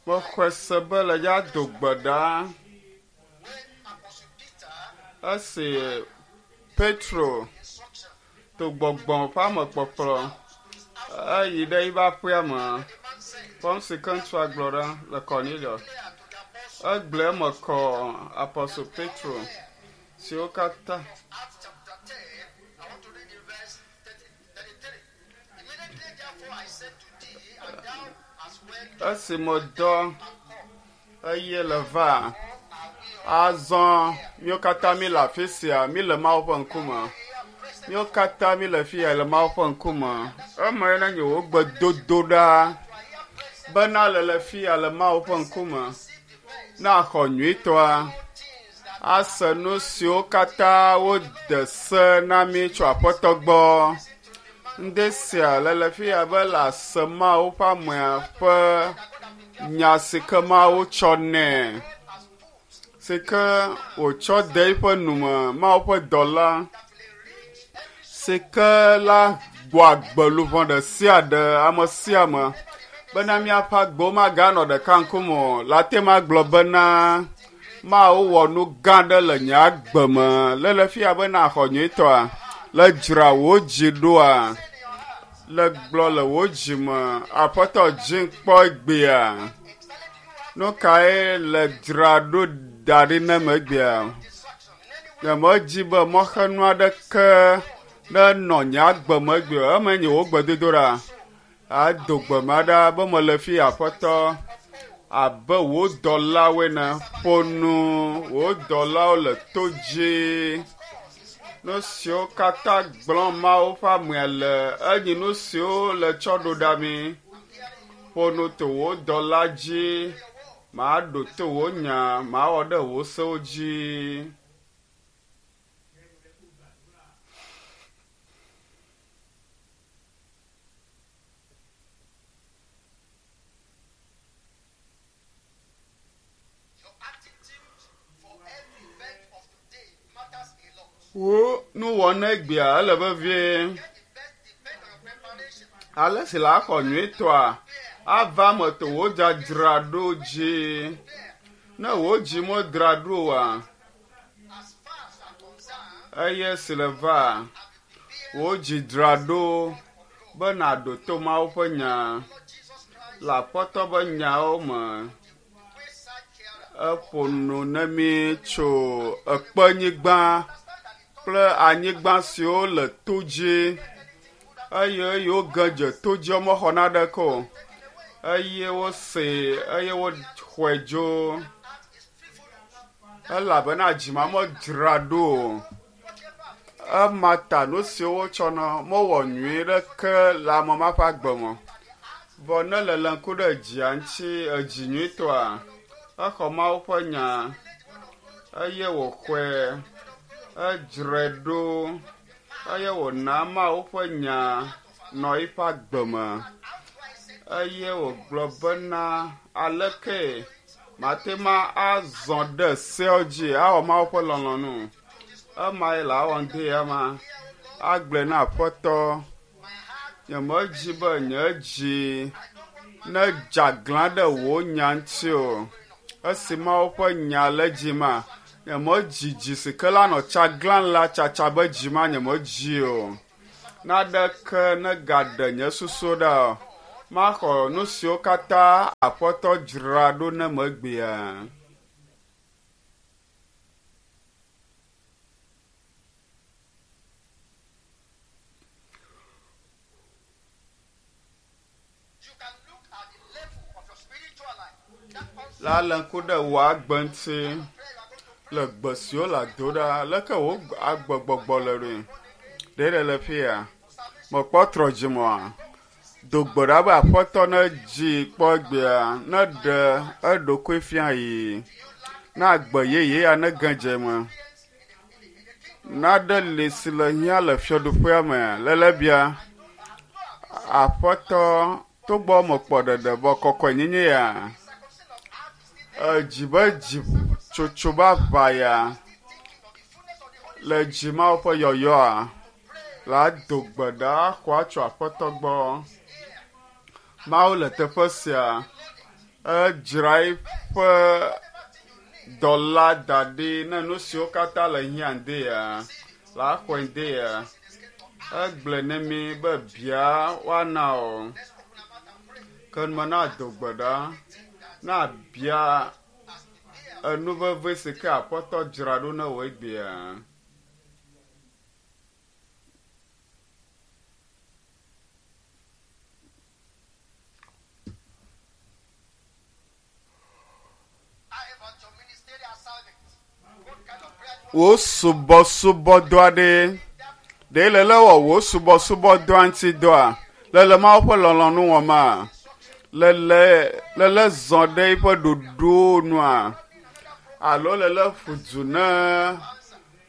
Mexɔe se be le dza do gbe ɖa esi Petro to gbɔgbɔ ƒe amekpɔkplɔ eyi ɖe eƒe aƒea me. Kpɔ nu si ke ŋutsua gblɔ ɖa le Cornelius. Egblɔe eme kɔ Apostle Petro siwo katã Acts chapter 10, I want to read the verse 30, 33. Immediately therefore I said to thee, and thou as well esi medɔ eye le va azɔ míwo katã mi le afi sia mi le Mawu ƒe ŋkume. Míwo katã mi le fi ya le Mawu ƒe ŋkume. Eme ye nenye wò gbedodo ɖa bena le le fi ya le Mawu ƒe ŋkume. Ne axɔ nyuitɔa ase nu siwo katã wode se na mí tso Aƒetɔ gbɔ. Ŋde sia le le fi ya be le ase Mawu ƒe amea ƒe nya si ke Mawu tsɔ nɛ si ke wòtsɔ de eƒe nume Mawu ƒe dɔla si ke la gbɔ agbe luʋɔ ɖe sia ɖe ame sia ame bena míaƒe agbewo maganɔ ɖeka ŋkume o. Le ate ŋu agblɔ bena Mawu wɔ nu gã aɖe le nye agbe me. Le le fia bena axɔ nyuitɔa le dzra wò dzi ɖoa le gblɔ le wò dzi me Aƒetɔ dzi kpɔ egbea. Nu kae le dzra ɖo da ɖi ne me egbea? Nyemedzi be mɔxenu aɖeke nenɔ nye agbe me egbea o. Eme nye wò gbedodoɖa. Ado gbe ma ɖa be mele fi Aƒetɔ abe wò dɔlawoe ene. Ƒo nu wò dɔlawo le to dzi. Nu siwo katã gblɔm Mawu ƒe amea le enyi nu siwo le tsɔ ɖo ɖa mi. Ƒo nu to wò dɔla dzi. Maɖo to wò nya, mawɔ ɖe wò sewo dzi. Your attitude for every event of today matters a lot. Wò nuwɔna egbea ele vevie. Get the best depend on your preparation. Ale si le axɔ nyuitɔa ava eme to wò dzadzraɖo dzi. Ne wò dzi medzra ɖo oa, As far as I'm concerned, eye si le va, wò dzi dzra ɖo be nàɖo to Mawu ƒe nya Lord Jesus Christ, le Aƒetɔ ƒe nyawo me. wayside carer. Eƒo nu ne mí tso ekpenyigba kple anyigba siwo le to dzi eye eyiwo ge dze to dzi mexɔ naneke o eye wosee eye woxɔe dzo elabena dzima medzra ɖo o. Ema ta nu siwo wotsɔna mewɔ nyui ɖeke le ame ma ƒe agbe me. Vɔ ne le le ŋku ɖe dzia ŋuti edzi nyuitɔa, exɔ Mawu ƒe nya eye wòxɔe edzrae ɖo eye wòna Mawu ƒe nya nɔ eƒe agbe me eye wògblɔ bena aleke mate ma azɔ ɖe seawo dzi awɔ Mawu ƒe lɔlɔ̃nu. Emae le awɔ ŋdi ya ma agblɔe na Aƒetɔ. Nyemedzi be nye dzi nedze aglã ɖe wò nya ŋuti o. Esi Mawu ƒe nya le dzi ma, nyemedzi dzi si ke la nɔ tsaglã la tsatsa be dzi ma nyemedzi o. Naneke negaɖe nye susu ɖa o. Maxɔ nu siwo katã Aƒetɔ dzra ɖo ne megbea. You can look at the level of your spiritual life. That also La le ŋku ɖe wò agbe ŋuti le gbe siwo le ado ɖa leke wò agbegbɔgbɔ le ɖoe. Ɖe ɖe le fi ya. Mekpɔ trɔ dzimɔa. Do gbe ɖa be Aƒetɔ ne dzi kpɔ egbea ne ɖe eɖokui fia yi. Ne agbe yeye ya ne ge dze eme. Naɖe li si le hiã le fiaɖuƒea me lele bia. Aƒetɔ togbɔ mekpɔ ɖeɖe vɔ kɔkɔenyenye ya. Edzi be dzi tsotso be aʋa ya le dzi Mawu ƒe yɔyɔa la do gbe ɖa xɔa tso Aƒetɔ gbɔ. Mawu le teƒe sia. Edzra eƒe dɔla da ɖi ne nu siwo katã le hiã dea, la xɔe dea. Egblɔe ne mi be bia woana o. Ke me na do gbe ɖa, na bia enu veve si ke Aƒetɔ dzra ɖo ne wò egbea. How about your ministerial assignment? What kind of prayer do you Wò subɔsubɔdɔ aɖe ɖe le lé wɔ wò subɔsubɔdɔa ŋuti dɔa? Le le Mawu ƒe lɔlɔ̃nu wɔma? Le le le le zɔ ɖe eƒe ɖoɖowo nua? Alo le le ƒu du ne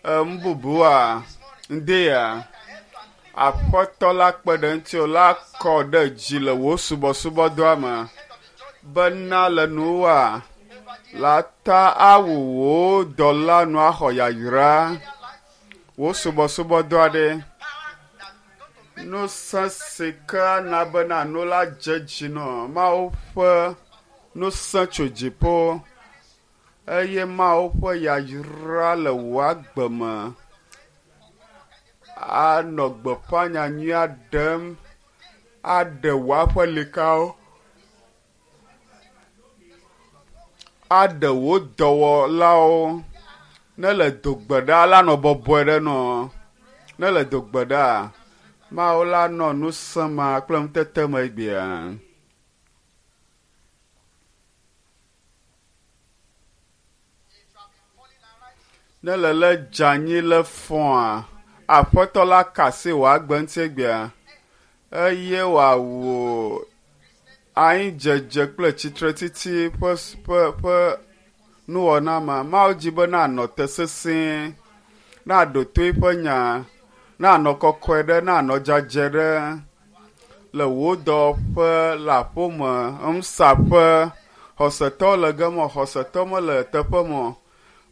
nu bubua? Ŋdea? Aƒetɔ la kpe ɖe ŋutiwò la kɔ ɖe dzi le wò subɔsubɔdɔa me bena le nuwoa la ta awu wò dɔla nu axɔ yayra wò subɔsubɔdɔa ɖe. Ŋusẽ si ke ana bena nu la dze dzi nɔ Mawu ƒe ŋusẽ tso dziƒo eye Mawu ƒe yayra le wò agbe me anɔ gbeƒã nyanyuia ɖem aɖe wò aƒelikawo, aɖe wò dɔwɔlawo. Ne le do gbe ɖa la nɔ bɔbɔe ɖe nɔ. Ne le do gbe ɖa, Mawu la nɔ ŋusẽ ma kple ŋutete me egbea. Ne le le dze anyi le fɔa, Aƒetɔ la ka asi wò agbe ŋuti egbea eye wòawɔ anyidzedze kple tsitretiti ƒe ƒe ƒe nuwɔna ma. Mawu dzi be nanɔ te sesĩe, naɖo to eƒe nya, nanɔ kɔkɔe ɖe, nanɔ dzadzɛ ɖe le wò dɔwɔƒe, le aƒeme, ŋusaƒe, xɔsetɔ le gema, xɔsetɔ mele teƒe me o.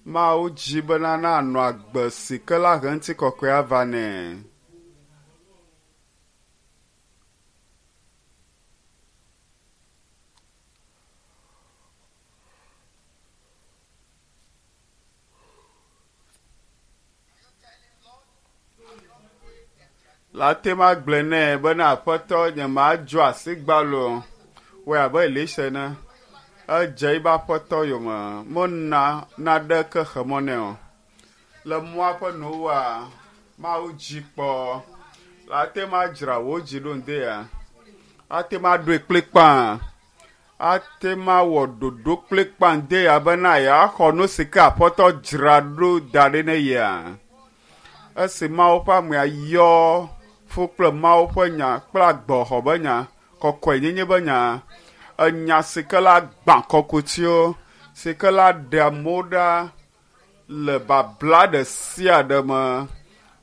Mawu dzi bena nanɔ agbe si ke la he ŋutikɔkɔe ava nɛ. La te ma gblɔe nɛ bena Aƒetɔ nye madzɔ asi gbalo o. Wɔe abe Elisa ene. Edze eƒe aƒetɔ yome. Mena naɖeke xe mɔ nɛ o. Le mɔa ƒe nuwoa, Mawu dzi kpɔ. La te ma dzra wò dzi ɖo ŋdea. Ate ma ɖoe kplikpaa. Ate ma wɔ ɖoɖo kplikpaa ŋdea bena yeaxɔ nu si ke Aƒetɔ dzra ɖo da ɖi ne yea. Esi Mawu ƒe amea yɔ fu kple Mawu ƒe nya kple agbɔxɔ be nya, kɔkɔenyenye be nya, enya si ke la gbã kɔkutiwo, si ke la ɖe amewo ɖa le babla ɖe sia ɖe me.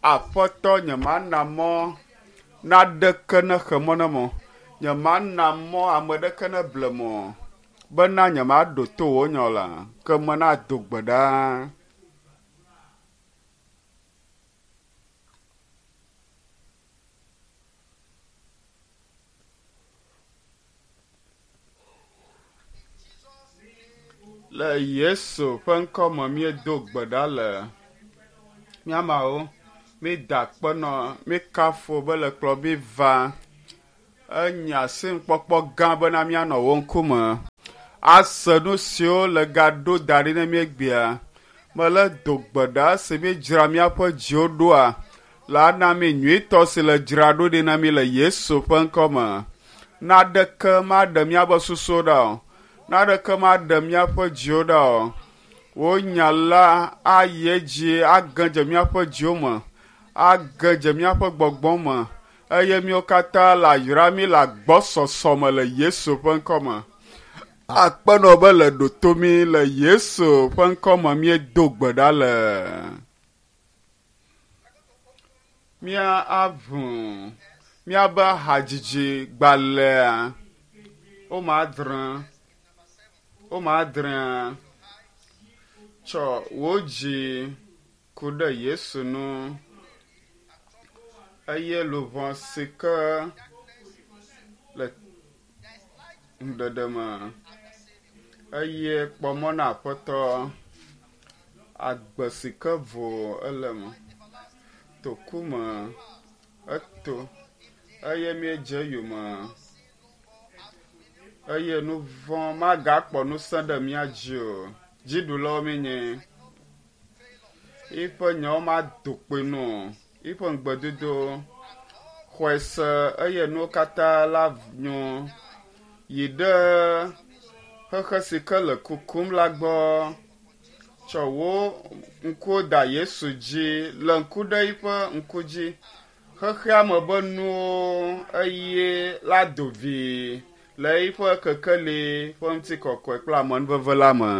Aƒetɔ, nyemana mɔ naɖeke nexe mɔ ne mo. Nyemana mɔ ame ɖeke neble mo bena nyemaɖo to wò nya o la, ke menado gbe ɖa. Le Yesu ƒe ŋkɔ me míedo gbe ɖa le míamawo. Mída akpe nɔ, míekafu be le kplɔ mí va. Enye asinukpɔkpɔ gã bena míanɔ wò ŋkume. Ase nu siwo le gaɖo da ɖi ne míegbea. Mele do gbe ɖa si míedzra míaƒe dziwo ɖoa, la na mí nyuitɔ si le dzra ɖo ɖi na mí le Yesu ƒe ŋkɔ me. Naɖeke maɖe míaƒe susuwo ɖa o. Naɖeke maɖe míaƒe dziwo ɖa o. Wò nya la ayi edzi age dze míaƒe dziwo me, age dze míaƒe gbɔgbɔ me eye míawo katã le ayra mí le agbɔsɔsɔ me le Yesu ƒe ŋkɔ me. Akpenɔ be le ɖo mí le Yesu ƒe ŋkɔ me míedo gbe ɖa le. Mía aʋu míabe hadzidzi gbalẽa wome adre wome adrea tsɔ wò dzi ku ɖe Yesu ŋu eye luʋɔ si ke le ŋuɖeɖe me. Eye kpɔ mɔ na Aƒetɔ. Agbe si ke vo ele me. Toku me eto eye míedze eyome eye nu vɔ̃ magakpɔ ŋusẽ ɖe mía dzi o. Dziɖulawo míenye. Yiƒe nyawo mado kpoe nu o. Yiƒe ŋugbedodo xɔe se eye nuwo katã la nyo. Yi ɖe xexe si ke le kukum la gbɔ. Tsɔ wò ŋkuwo da Yesu dzi. Le ŋku ɖe yiƒe ŋku dzi. Xexea me be nuwo eye la do vi le yiƒe kekeli ƒe ŋutikɔkɔe kple amenuveve la me.